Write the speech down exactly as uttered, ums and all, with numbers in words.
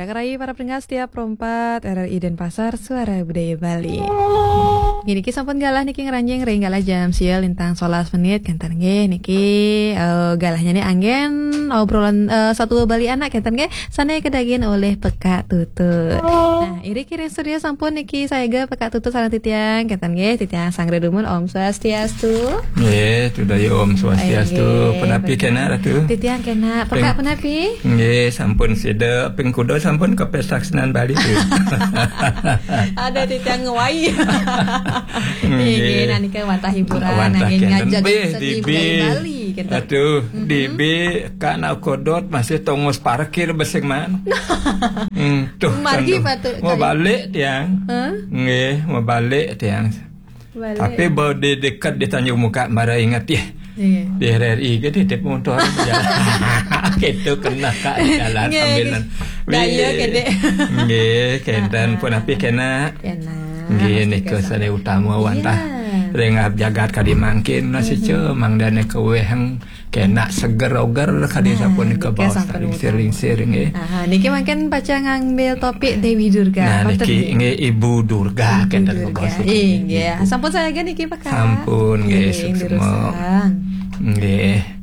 Rai para pendengar setia Pro empat R R I Denpasar, Suara Budaya Bali. Nggih, niki sampun galah niki ngranjing ring galah jam sia lintang solas menit, kenten nggih niki, eh, galahnya nih anggen obrolan, eh, satu Bali anak, kenten nggih, sane kadagin olih Pekak Tutut. Nah, iri kiring studio sampun niki sayaga Pekak Tutut sareng titiang, kenten nggih, titiang sanggra dumun, Om Swastiastu. Nggih, Tudayu Om Swastiastu. Nggih. Punapi kena, Ratu? Titiang kena. Pekak punapi? Nggih, sampun sida, ping kuda sampun ke pesta kesenian Bali tu. Ada titiang ngwai. Nggih. Nggih, nah nika wantah hiburan, wantah anggen kenten. Ngajak seni budaya Bali, kenten. Aduh, dibi ka nak kodot masih tongos parkir besing man. Hmm, tuh, margi kan tu. Patut mau balik tiang. Hah? Nggih, mau balik tiang. Balik. Tapi baru di dekat di Tanjung Muka, mara ingat ya. Iya. Di R R I ke titip motor jalan. Gitu kena ka jalan. Nggih, sambilan. Daya ke dek. Nggih, kenten punapi kena. Kena. Nggih, nika sane utama wantah. Iya. Ring jagat kadi mangkin, nasi cemang dan keweheng. Kena seger oger kadi sapunika baos sampun lingsir-lingsir nggih. Aha, niki mangkin pacang ngambil topik Dewi Durga. Nah, niki nggih Ibu Durga, kenten Ibu Durga. Nggih, sampun sayaga niki, Pekak. Sampun nggih, nggih, suksma. Nggih.